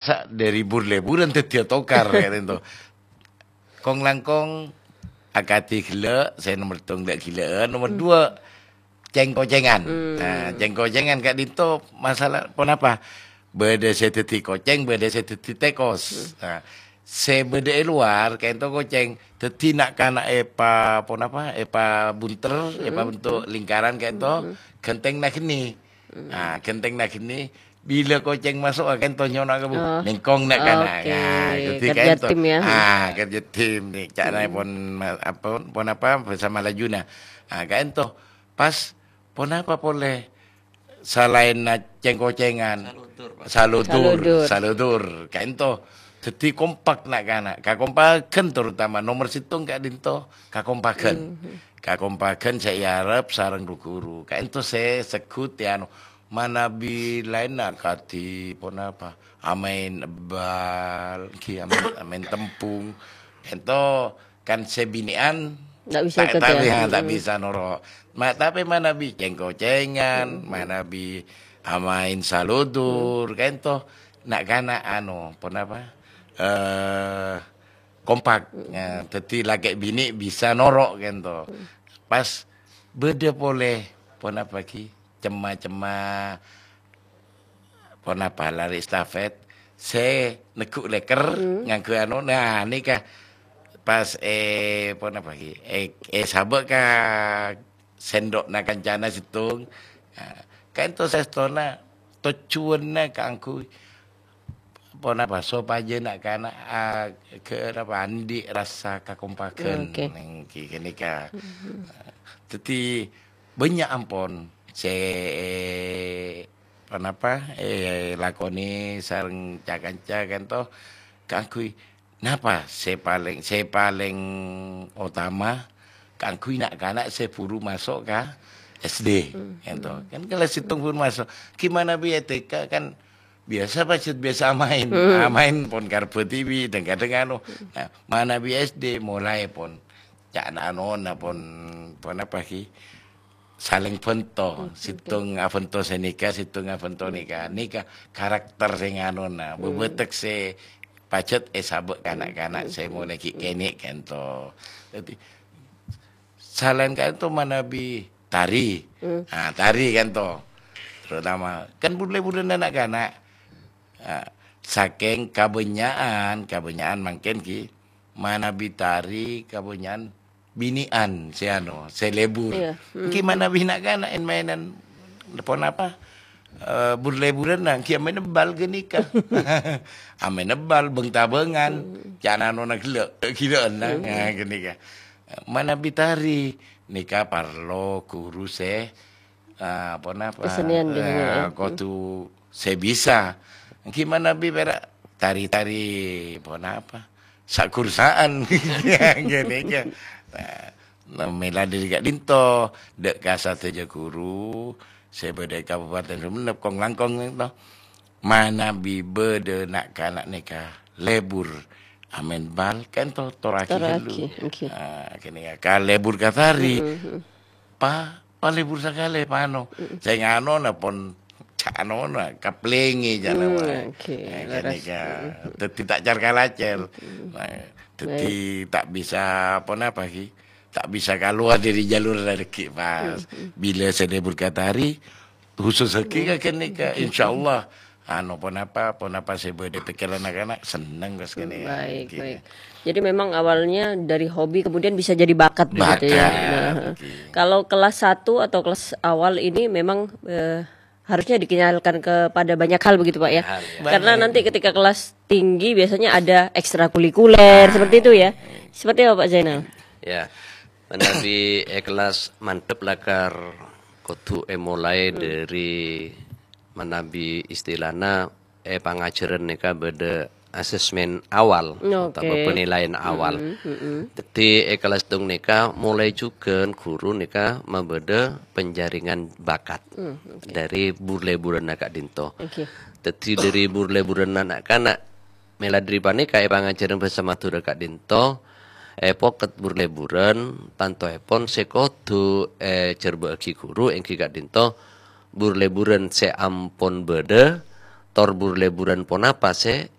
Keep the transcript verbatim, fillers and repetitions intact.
Sa-, dhâri bur-lèburân dhâddhiyâ tokar, ka'dinto. Kong-langkong akadhi ghellâ', sè nomer settong la' ghellâ'ân, nomer dua cèng-kocèngan. Nah, cèng-kocèngan ka'dinto masalah ponapa? Bâdâ sè dhâddhi kocèng, bâdâ sè dhâddhi tèkos. Nah, sè bâdâ è lowar, ka'dinto kocèng. Dhâddhi na'-kana' èpa-, ponapa? Èpabunter, èpabentuk lingkaran ka'dinto, ghântèng na' ghenni. Nah, ghântèng na' ghenni, bilâ kocèng maso', ka'dinto nyona' ka bu-, Oh. nèngkong na'-kana'. Oke, Nah, dhâddhi kerja ka'dinto. tim ya. Ah, kerja tim nè. Ca'na pon ma-, apa, ponapa? Bersama lajuna. Ah, ka'dinto. Pas ponapa polè? Salaènna cèng-kocèngan. Saludur, Pak. Saludur, Saludur. saludur. Ka'dinto. Dhâddhi kompak na'-kana'. Kakompaghân terutama nomer settong ka'dinto. Kakompaghân. Kakompaghân sè èarep sareng ru-ghuru. Ka'dinto sè segghut è anu. Manabi laènna kadhi ponapa? Amaèn bal, ghi amaèn, amaèn tempung. Ka'dinto kan sè binè'an Ndak bisa ta', ikut ta' ya? bi-, ha, ta' Mm-mm. bisa noro'. Ma-, tapè manabi cèng-kocèngan, manabi amaèn saludur, ka'dinto na'-kana' anu, ponapa? Eh, kompak. Ya, dhâddhi lakè' binè' bisa noro' ka'dinto. Pas bâdâ polè, ponapa ghi? Cemma-cemma ponapa lari estafet sè neggu' lèker ngangghuy anu. Nah, nèka pas, eh, ponapa ghi? Eh, eh, sabâ' ka sèndho'na kancana settong. Nah, ka'dinto sastona tojjhuwânna kaangghuy ponapa? Sopajâ na'-kana', ah, ghâ-, apa, andi' rassa kakompaghân Oke. nèng ghi-, ghânèka. Dhâddhi, bânnya' ampon sè, eh, ponapa, eh, lakonè sareng ca-kanca ka'dinto kaangghuy napa sè palèng, sè palèng otama kaangghuy na'-kana' sè buru maso' ka S D, ka'dinto. Kan kelas settong buru maso'. Gimana bi' è T K kan biasa pajhât biasa amaèn. Amaèn pon karbâ T V, dhâng-kadhâng anu. Nah, manabi S D molaè pon ca'na anona pon, ponapa ghi? Salèng bhânto, Oke, oke. settong abhânto sè nèka, settong abhânto nèka. Nèka karakter sè nganona, bebâtek sè pajhât èsabâ' ka na'-kana' sè molaè ghi' kènè' ka'dinto. Dhâddhi, salaèn ka'dinto manabi tari. Hmm. Ah, tari ka'dinto. Terutama, kan bur-lèburân na'-kana'. Ah, sakèng kabânnya'an, kabânnya'an mangkèn ghi, manabi tari kabânnya'an binè'an sè anu, sè lebur. Iya. Hmm. Ènggi manabi na'-kana' èn-maènan ponapa, eh, bur-lèburân, nah, ènggi amaèn bal ghânèka. Amaèn bal, bâng-tabângan, Hmm. ca'na anona ghellâ', ghilâ'ân, nah, Hmm. nah, ghânèka. Manabi tari, nèka parlo ghuru sè Ah, ponapa? Kesenian di sini, Eh, ya. Kodhu sè bisa. Gimana bi pèra' tari-tari ponapa? Sakursaan. Ghânèka. Nah, mèla dhâri ka'dinto, dâ' ka sadhâjâ ghuru sè bâdâ è Kabupaten Sumenep, kong-langkong ka'dinto. Manabi bâdâ na'-kana' nèka lebur amaèn bal, ka'dinto torraghi Torraghi, ghâllu. Ngghi. Ah, ghânèka, ka lebur ka tari. Mm-mm. Pa, palebur sakalè, pano. Mm-mm. Sè nganona pon ca' anona, kaplèngè jana Hmm, wae. Oke, Eh, leres. Ghânèka. Mm-mm. Dhâddhi ta' car-kalacèr. Mm-mm. Nah, dhâddhi Baik. ta' bisa ponapa, ghi? Ta' bisa kalowar dhâri jalur règhi pas. Mm-mm. Bilâ sè lebur ka tari, khusus ghi ka ghânèka, Oke. insyaallah. Anu, ponapa, ponapa sè bâdâ pèkkèran na'-kana', senneng pas ghânèka. Baik, Ghi. baik. Jadi memang awalnya dari hobi kemudian bisa jadi bakat begitu ya. Bakat, Nah, oke. kalau kelas satu atau kelas awal ini memang, eh, harusnya dikenalkan kepada banyak hal begitu, Pak, ya. Banyak hal, ya. Karena Banyak. nanti ketika kelas tinggi biasanya ada ekstrakurikuler, Ah. seperti itu ya. Seperti apa, Pak Zainal? Ya, manabi è kelas mandhâp lakar kodhu èmolaè Hmm. dhâri manabi istilana è pangajhârân nèka bâdâ asesmen awal Oke. otabâ penilaian awal. Mm-mm, mm-mm. Dhâddhi è kelas settong nèka molaè jhughân ghuru nèka mabâdâ penjaringan bakat Hmm, oke. dhâri bur-lèburânna ka'dinto. Oke. Dhâddhi dhâri bur-lèburânna na'-kana', mèla dhâri panèka è pangajhârân bhâsa Madhurâ ka'dinto, è pokèt bur-lèburân, tantoèpon sè kodhu èjhârbâ'âghi ghuru èngghi ka'dinto bur-lèburân sè ampon bâdâ, tor bur-leburan ponapa sè